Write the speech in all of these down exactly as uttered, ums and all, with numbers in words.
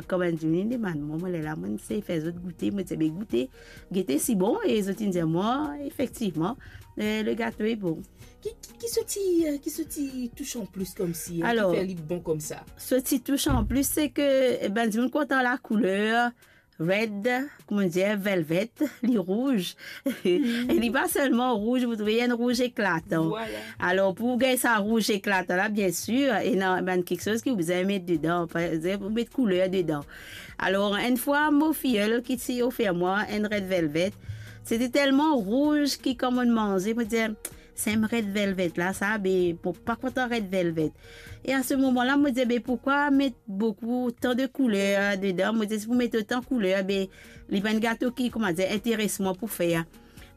Kan bann dimoun inn demann mwa, mo lerla mo'nn sey fer zot goute, mo dir be goute, gete si bon, e zot inn dir mwa, efektivman, eh, le gato est bon. Ki, ki, ki so ti, eh, ki so ti tous an plis koumsa, eh, Alor, ki fer li bon koumsa? So ti tous an plis, se ke, eh, bann dimoun kontan lakouler red, kouma nou dir, velvet, li rouz. E li pa selman rouz, ou trouve, li enn rouz eklatan. Vwala. Alor, pou gagn sa rouz eklatan la, biensir, ena bann kiksoz ki ou bizin met dedan. Par exanp, ou met kouler dedan. Alor, enn fwa, mo fiyel ki ti ofer mwa enn red velvet, se ti telman rouz ki kan mo'nn manze, mo dir, "Sa enn red velvet la, sa, be, mo pa kontan red velvet." E a se moman la, mo dir, "Be, poukwa met boukou, otan de kouler dedan?" Mo dir, "Si pou met otan kouler, be, li pa enn gato ki, kouma dir, interes mwa pou fer."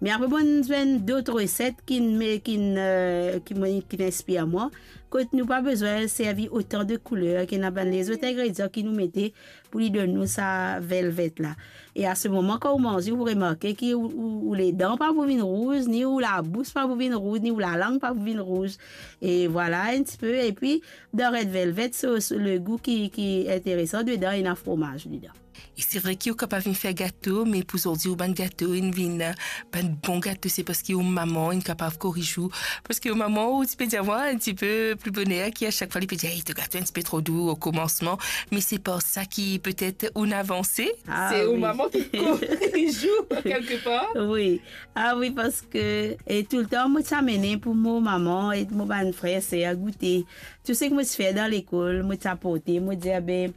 Me apre, mo'nn zwenn dot reset ki, me, ki, eh, ki, mo, ki inspir mwa, kot nou pa bizin servi otan de kouler, ki ena bann lezot ingredian ki nou mete pou li donn nou sa velvet la. E a se moman, kan ou manze, ou remarke ki ou, ou, ou ledan pa pou vinn rouz, ni ou labous pa pou vinn rouz, ni ou lalang pa pou vinn rouz. E vwala, enn tipe. Epi, dan red velvet, so, so, le gou ki, ki interesan dedan, ena fromaz dedan. E se vre ki ou kapav vinn fer gato, me pou zordi ou bann gato inn vinn, eh, bann bon gato, se parski ou mama inn kapav koriz ou. Parski ou mama, ou ti pe dir mwa enn tipe pli boner ki a sak fwa li pe dir, "Ey, to gato enn tipe tro dou o koumansman." Me se par sa ki petet ou'nn avanse. Ah, Se ou wi. mama ki koriz ou, kelkepar. Wi. Ah wi, parski, e toultan, mo ti amene pou mo mama e mo bann frer, ser goute. Tou seki mo ti fer dan lekol, mo ti aporte, mo dir, "Be,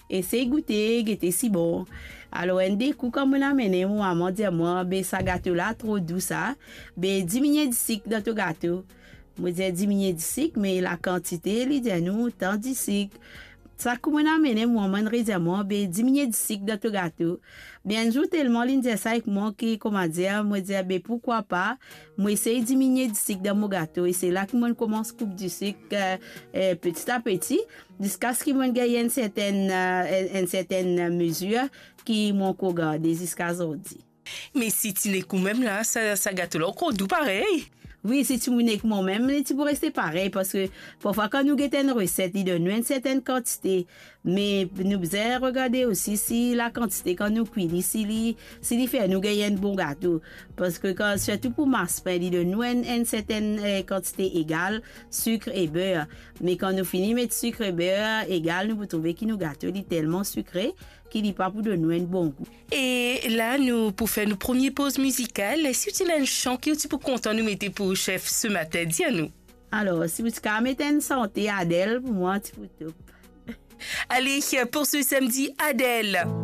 esey goute, gete si bon." Alor, enn de kou, kan mo'nn amene, mo mama dir mwa, "Be, sa gato la tro dou sa, be, diminie disik dan to gato." Mo dir, "Diminie disik, me lakantite?" Li dir, "Nou, tan disik." Sa kou mo'nn amene, mo mama redir mwa, "Be, diminie disik dan to gato." Be, enn zour, telman li'nn dir sa ek mwa ki, kouma dir, mo dir, "Be, poukwa pa?" Mo esey diminie disik dan mo gato, e se la ki mo'nn koumans koup disik, eh, eh, peti a peti, ziska ski mo'nn gagn enn sertenn, eh, enn, enn sertenn mezir ki mo ankor garde ziska zordi. Me si ti nek ou mem la, sa, sa gato la ankor dou parey. Wi, si ti nek mwa mem, li ti pou reste parey, parski parfwa kan nou get enn reset, li donn nou enn sertenn kantite, me nou bizin regarde osi si lakantite kan nou kwi li, si li, si li fer nou gagn enn bon gato. Parski kan, sirtou pou maspin, li donn nou enn, enn sertenn, eh, kantite egal sik e ber. Me kan nou fini met sik e ber egal, nou pou trouve ki nou gato, li telman sikre ki li pa pou donn nou enn bon gou. E la, nou pou fer nou premie poz mizikal. Si ou ti ena enn san ki ou ti pou kontan nou mete pou chef se matin, dir nou. Alor, si ou ti kapav met enn sante Adele, pou mwa, ti pou top. Ale, pou se samdi, Adele.